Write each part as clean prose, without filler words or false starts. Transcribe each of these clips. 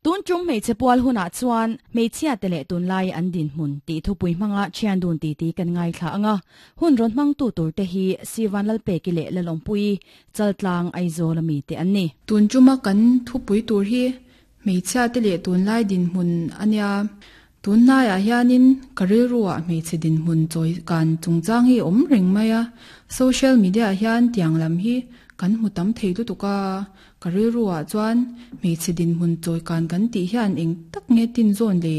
Tun tum hmeichhe pual hunah chuan hmeichhia te leh tunlai an dinhmun tih thupui hmanga thian dun titi kan ngaithla ang a, hun rawn hmangtu tur te hi Sivan Lalpeki leh Lalawmpuii Chaltlang Aizawl ami te an ni. Tun tuma kan thupui tur hi hmeichhia te leh tunlai dinhmun a nia. Tunhnaiah hianin ka rilruah hmeichhe dinhmun chawi kan chungchang hi awm reng mai a, social media ah hian tiang lam hi kan hmu tam thei lutuk a, ka rilruah chuan hmeichhe dinhmun chawi kan kan tih hian eng tak nge tin zawn le,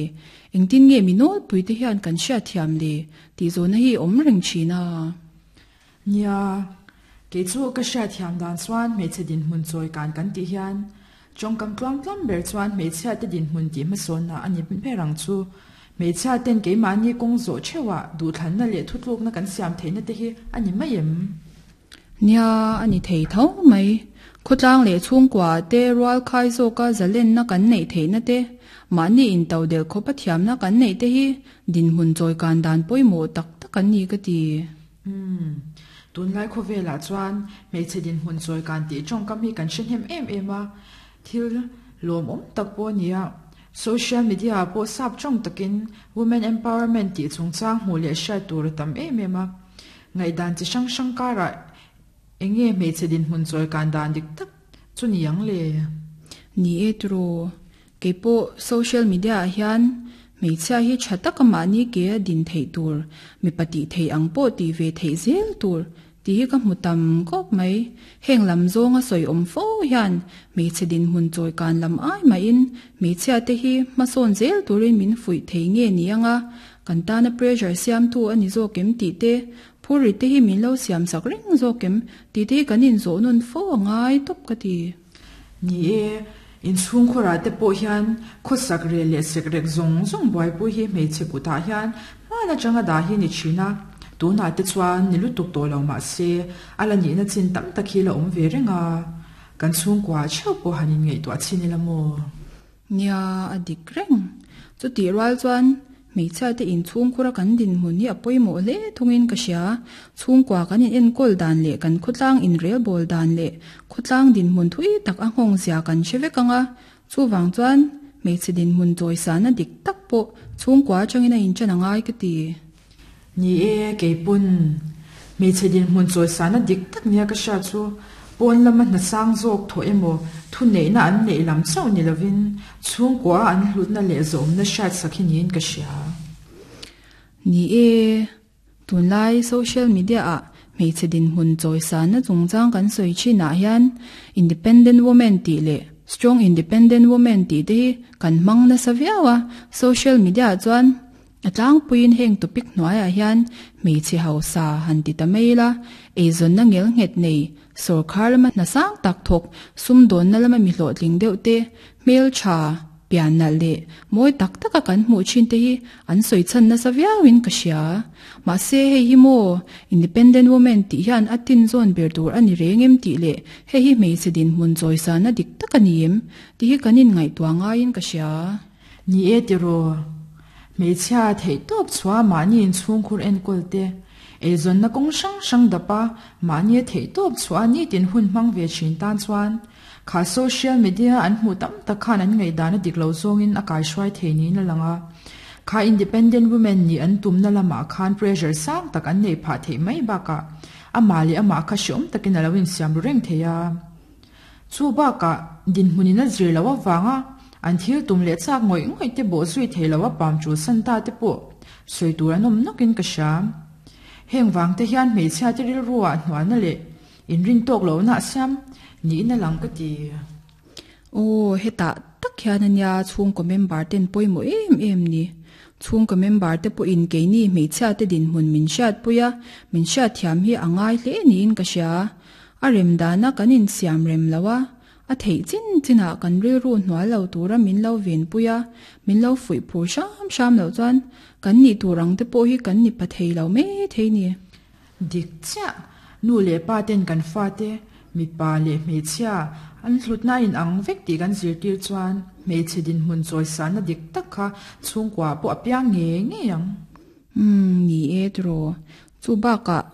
engtin nge mi nawlpui te hian kan hriatthiam le tih zawhna hi awm reng thin a. Nia, kei chu ka hriatthiam dan chuan hmeichhe dinhmun chawi kan kan tih hian tawngkam tluang tlam ber chuan hmeichhia te dinhmun tih hmasawnna a ni ber ang chu. Hmeichhia ten keimahni kawng zawh theuhah duhthlanna leh thutlukna kan siam theihna te hi a ni mai em? Nia, a ni thei tho mai. Khawtlang leh chhungkua te rual khai zawka zalenna kan neih theihna te, mahni intodelh khawpa thiamna kan neih te hi dinhmun chawi kan dan pawimawh tak tak an ni ka ti. Umm. Tunlai khawvelah chuan hmeichhe dinhmun chawi kan tih tawngkam hi kan hre hnem em em a, thil lawmawm tak pawh a ni a. Social media ah pawh sap tawng takin Women Empowerment tih chungchang hmuh leh hriat tur a tam em em a. Ngaihdan chi hrang hrang karah eng nge hmeichhe dinhmun chawi kan dan dik tak chu ni ang le? Ni e tiraw, Keipawh social media ah hian hmeichhia hi tha taka mahni ke a din theih tur, mipa tih theih ang pawh tih ve theih zel tur tih hi ka hmu tam khawp mai. Heng lam zawnga sawi awm fo hian hmeichhe dinhmun chawi kan lam ai mahin hmeichhia te hi hmasawn zel turin min fuih thei nge ni anga kan tana pressure siamtu a ni zawk em tih te, phurrit te hi min lo siam sak reng zawk em tih te hi kan inzawh nawn fo a ngai tawp ka ti. Ni e, inchhungkhawrah te pawh hian khawsak rel leh sekrek zawng zawng buaipui hi hmeichhe kutah hian hman atanga dah hi ni thin a, tunah te chuan ni lutuk tawh lo mah se a la nihna chin tam tak hi la awm ve reng a, kan chhungkua theuh pawh han inngaihtuah chhin ila maw? Nia, a dik reng. Chutih rual chuan hmeichhia te inchhungkhura kan dinhmun hi a pawimawh hle thungin ka hria. Chhungkua kan in enkawl dan leh kan khawtlang inrelbawl dan leh khawtlang dinhmun thui tak a nghawng zia kan hre vek ang a. Chuvang chuan hmeichhe dinhmun chawisana dik tak pawh chhungkua atangin a inṭan a ngai ka ti. Ni e, keipawn hmeichhe dinhmun chawisana dik tak nia ka hriat chu pawn lama hna sang zawk thawh emaw thuneihna an neih lam chauh ni lovin chhungkua an hlutna leh zawmna hriat sak hi niin ka hria. Ni e, tunlai social media ah hmeichhe dinhmun chawisana chungchang kan sawi thinah hian independent woman tih leh strong independent woman tih te hi kan hmang nasa viau a, social media ah chuan A tlangpuiin heng topic hnuaiah hian hmeichhe hausa han ti ta mai ila, eizawnna ngel nghet nei, sawrkhar lama hna sang tak thawk, sumdawnna lama mi hlawhtling deuh te, hmeltha, pian nalh leh mawi tak taka kan hmuh thin te hi an sawi chhan nasa viauin ka hria. Mahse hei hi maw Independent Woman tih hian a tin zawn ber tur a ni reng em tih leh hei hi hmeichhe dinhmun chawisana dik tak a ni em tih hi kan inngaihtuah ngaiin ka hria. Ni e tiraw, hmeichhia theihtawp chhuah mahni inchhungkhur enkawl te, eizawnna kawng hrang hrang dapa mahni theihtawp chhuah nitin hun hmang ve thin tan chuan kha social media an hmuh tam tak khan an ngaihdan a dik lo zawngin a kaihruai thei niin a lang a. Kha independent women nih an tumna lamah khan pressure sang tak an neih phah theih mai bakah amah leh amah kha hreawm takin a lo insiam ru reng thei a. Chu bakah dinhmunin a zir loh avanga an thil tum leh chak ngawih ngawih te bawh zui thei lo a pam tul san ta te pawh sawi tur an awm nawkin ka hria. Heng vang te hian hmeichhia te rilru ah hnualna leh inrin tawk lohna a siam niin a lang ka ti. Aw, hetah tak hian ania chhungkaw member ten pawimawh em em ni. Chhungkaw member te pawhin keini hmeichhia te dinhmun min hriatpui a, min hriatthiam hi a ngai hle niin ka hria. A rem dana kan insiam rem lo a, a theih chin chinah kan rilru hnual lo tura min lo venpui a, min lo fuih phur hram hram loh chuan kan nih tur ang te pawh hi kan ni pa thei lo mai thei ni. Dik chiah, nu leh pa ten kan fate, mipa leh hmeichhia, an hlutna a inang vek tih kan zirtir chuan hmeichhe dinhmun chawisana dik tak kha chhungkua pawh a piang ngei ngei ang. Umm, ni e tiraw. Chu bakah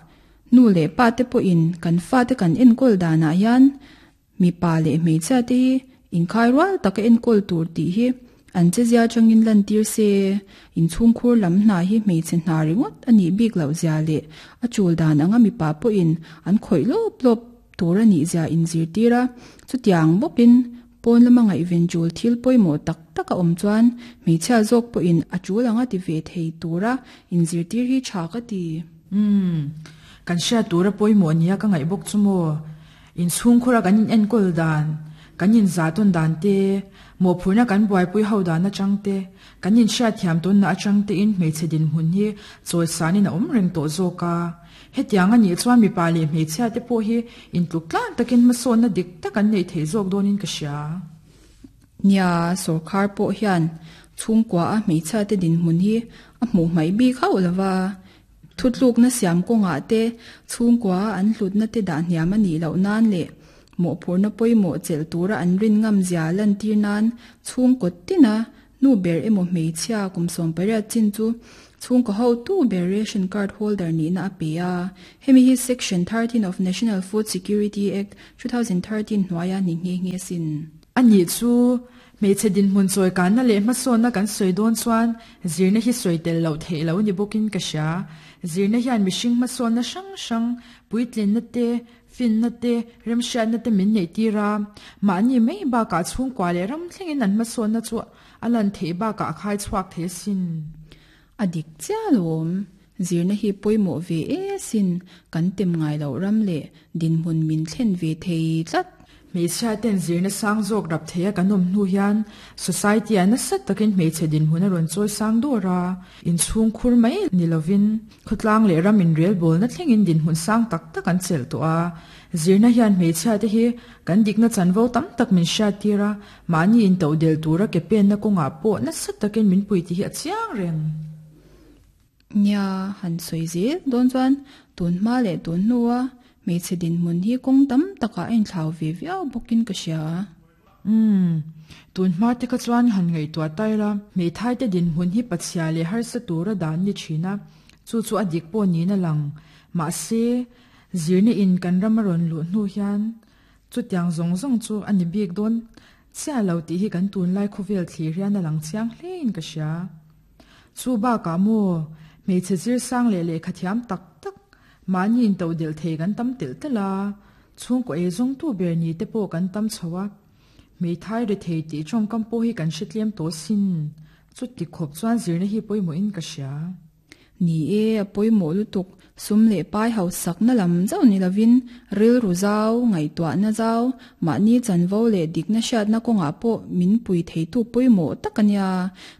Nu leh pa te pawhin kan fate kan enkawl danah hian mipa leh hmeichhia te hi Inkhai rual taka enkawl tur tih hi an chezia atangin lantir se, inchhungkhur lam hna hi hmeichhe hna ringawt a nih bik loh zia leh a chul dan anga mipa pawhin an khawih lawp lawp tur a nih zia inzirtir a, chutiang bawkin pawn lama ngaihven chul thil pawimawh tak tak a awm chuan hmeichhia zawk pawhin a chul anga ti ve thei tura inzirtir hi tha ka ti. Umm, kan hriat tura pawimawh nia ka ngaih bawk chu maw? Inchhungkhura kan in enkawl dan, kan in zahtawn dan te, mawhphurhna kan buaipui ho dan atang te, kan in hriatthiam tawnna atang te in hmeichhe dinhmun hi chawisanin a awm reng tawh zawk a. Hetiang a nih chuan mipa leh hmeichhia te pawh hi intluk tlang takin hmasawnna dik tak an neih theih zawk dawnin ka hria. Nia, sawrkhar pawh hian chhungkua a hmeichhia te dinhmun hi a hmuh hmaih bik hauh lova, Thutlukna siam kawngah te, chhungkua an hlutna te dah hniam a nih loh nan leh mawhphurhna pawimawh chelh tura an rin ngam zia lantir nan chhungkaw tina nu ber emaw hmeichhia kum 18 chin chu chhungkaw hotu ber ration card holder nihna a pe a. Hemi hi Section 13 of National Food Security Act, 2013 hnuaia ni nghe nghe sin. A nih chu Hmeichhe dinhmun chawikanna leh hmasawnna kan sawi dawn chuan zirna hi sawi tel loh theih lo ni bawkin ka hria. Zirna hian mihring hmasawnna hrang hrang, puitlinna te, finna te, remhriatna te min neih tir a. Mahni mai bakah chhungkua leh ram thlengin an hmasawnna chu a lan theih bakah a khai chhuak thei asin. A dik chiah alawm. Zirna hi pawimawh ve e sin, kan tem ngai loh ram leh dinhmun min thlen ve thei tlat. Hmeichhia ten zirna sang zawk rap theia kan awm hnu hian society ah nasa takin hmeichhe dinhmun a rawn chawi sang dawr a, inchhung khur mai ni lovin khawtlang leh ram inrelbawlna thlengin dinhmun sang tak tak an chelh tawh a. Zirna hian hmeichhia te hi kan dikna chanvo tam tak min hriattir a, mahni intohdelh tura ke penna kawngah pawh nasa takin min pui tih hi a chiang reng. Nia, han sawi zel dawn chuan tun hma leh tun hnua hmeichhe dinhmun hi kawng tam takah a inthlau ve viau bawkin ka hria. Umm, tun hma te kha chuan han ngaihtuah ta ila, hmeithai te dinhmun hi pachhia leh harsa tura dan ni thin a, chu chu a dik pawh niin a lang. Mahse, zirna in kan ram a rawn luh hnu hian chutiang zawng zawng chu a ni bik dawn chiah lo tih hi kan tunlai khawvel thlir hian a lang chiang hlein ka hria. Chu bakah maw, hmeichhe zir sang leh lehkha thiam tak tak, mahni intodelh thei kan tam telh telh a, chhungkaw ei zawngtu ber ni te pawh kan tam chho a, hmeithai ri thei tih tawngkam pawh hi kan hre tlem tawh sin, chuti khawp chuan zirna hi pawimawhin ka hria. Ni e, a pawimawh lutuk, sum leh pai hausakna lam zauh ni lovin rilru zau, ngaihtuahna zau, mahni chanvo leh dikna hriatna kawngah pawh min pui theitu pawimawh tak a nia.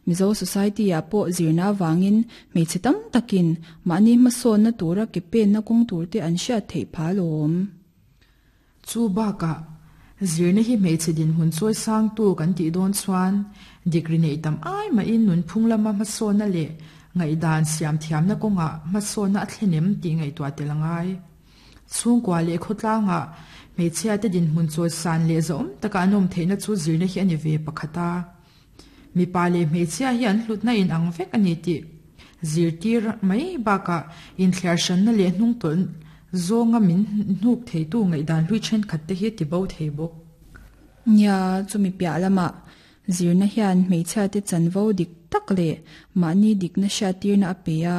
Mizo Society-ah pawh zirna avangin hmeichhe tam takin mahni hmasawnna tura ke penna kawng turte an hriat theih phah alawm. Chu bakah, zirna hi hmeichhe dinhmun chawi sangtu kan tih dawn chuan degree neih tam ai mahin nunphung lama hmasawnna leh ngaihdan siam thiamna kawngah hmasawnna a thlen em tih ngaihtuah tel a ngai. Chhungkua leh khawtlangah hmeichhiate dinhmun chawi san leh zahawm taka an awm theihna chu zirna hi a ni ve pakhat a. Mipa leh hmeichhia hi an hlutna inang vek a ni tih zirtir mai bakah inthliar hranna leh hnungtawlh zawnga min hnuk theitu ngaihdan hlui thenkhat te hi ti bo thei bawk. Nia, chumi piah lamah zirna hian hmeichhiate chanvo dik tak leh mahni dikna hriattirna a pe a,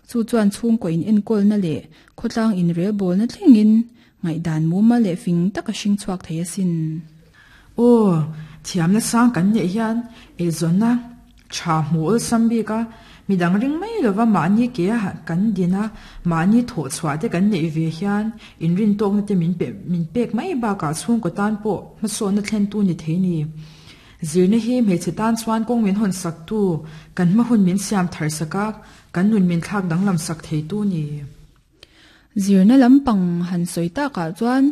chu chuan chhungkaw inenkawlna leh khawtlang inrelbawlna thlengin Ngaihdan mumal leh fing tak a hring chhuak thei asin. Aw, thiamna sang kan neih hian eizawnna tha hmu awlsam bik a, midang ring mai lova mahni ke a kan din a, mahni thawh chhuah te kan neih ve hian inrintawkna te min pe min pek mai bakah chhungkaw tan pawh hmasawnna thlentu ni thei ni. Zirna hi hmeichhe tan chuan kawng min hawn saktu, kan hma hun min siam thar sak a, kan nun min thlak danglam sak theitu ni. Zirna lampang han sawi takah chuan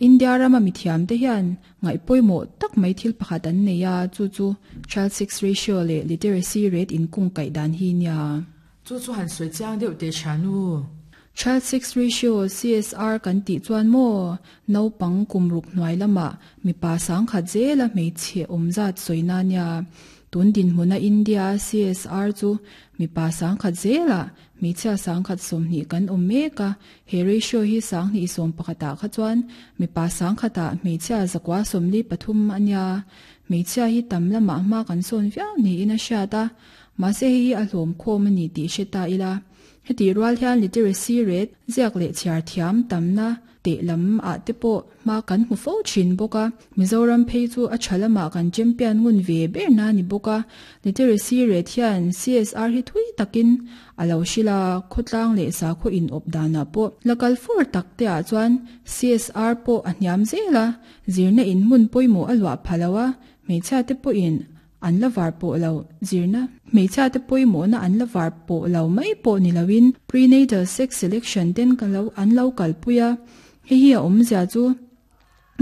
India rama mithiamte hian ngaih pawimawh tak mai thil pakhat an nei a, chu chu Child Sex Ratio leh Literacy Rate inkung kaih dan hi nia. Chu chu han sawi chiang deuh teh Shanu. Child Sex Ratio, CSR, kan tih chuan maw naupang kum ruk hnuai lamah mipa sangkhat zela hmeichhe awm zat sawina nia. Tun dinhmuna India CSR chu mipa 10,000 zela hmeichhia 120,000 kan awm mek a. He ratio hi 2011 ah kha chuan mipa 10,000 ah hmeichhia 943 ania. Hmeichhia hi tam lamah hma kan sawn viau niin a hriat a. Mahse hei hi a hlawm khawm a ni tih hre ta ila. Heti rual hian literacy rate ziak leh chhiar thiam tamna teh lam ah te pawh hma kan hmu fo thin bawk a. Mizoram phei chu a tha lamah kan champion ngun ve ber na ni bawk a. Literacy rate hian CSR hi thui takin a lo hril a, khawtlang leh sakhaw in awp danah pawh la kal fur tak te ah chuan CSR pawh a hniam zel a, zirna in hmun pawimawh a luah pha lo a, hmeichhia te pawhin an la var pawh lo zirna hmeichhia te pawimawhna an la var pawh lo mai pawh ni loin prenatal sex selection ten ka lo an lo kalpui a. Hei hi a awmzia chu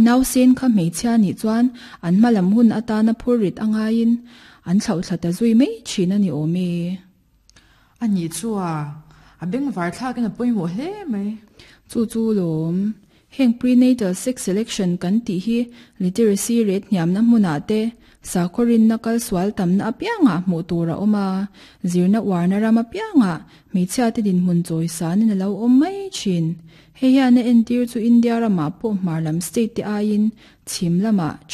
nausen kha hmeichhia nih chuan an hma lam hun atana phurrit a ngaiin an thlauhthla ta zui mai thin a ni awm e. A nih chu a, a bengvar thlakin a pawimawh hle mai. Chu chu lawm. Heng prenatal sex selection kan tih hi literacy rate hniamna hmunah te, sakhaw rinna kal sual tamna apiangah hmuh tur a awm a, zirna uarna ram apiangah hmeichhia te dinhmun chawisanin a lo awm mai thin. Hei hian a entir chu India ramah pawh hmar lam state te aiin chhim lamah.